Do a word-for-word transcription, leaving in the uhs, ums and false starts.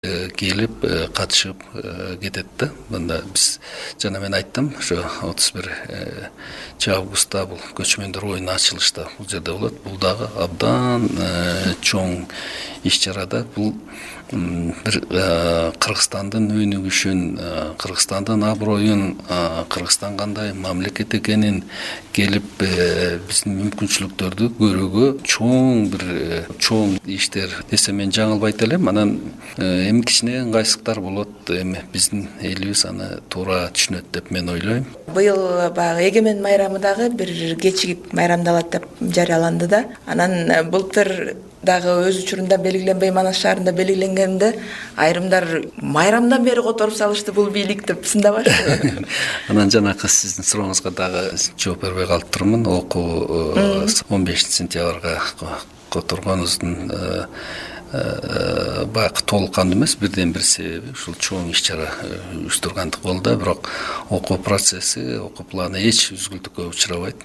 келип катышып кетет да. Мында биз жана мен айттым, ошо отуз бир августта бул көчмөндөр оюну ачылышта бул жерде болот. Бул дагы абдан чоң иш-чара да. Бул бир Кыргызстандын өнүгүшүн, Кыргызстандын аброюн, Кыргызстан кандай мамлекет экенин келип биздин мүмкүнчүлүктөрдү көрүүгө чоң бир чоң иштер десем мен жаңылбайт элем. Анан эми кичине ыңгайсыздыктар болот. Эми биздин элибиз аны туура түшүнөт деп мен ойлойм. Быйыл баягы эгемен майрамы дагы бир кечигип майрамдалат деп жарыяланды да. Анан былтыр дагы өз учурунда белгиленбей Манас шаарында белгиленгенде айрымдар майрамдан бери которуп салышты бул бийлик деп сындабашты. Анан жанакы сиздин сурооңузга дагы жооп бербей калып турмун. Окуу он бешинчи сентябрга которгонубуздун баягы толук кандуу эмес, бирден бир себеби ушул чоң иш-чара уюштургандык болду да. Бирок окуу процесси, окуу планы эч үзгүлтүккө учурабайт.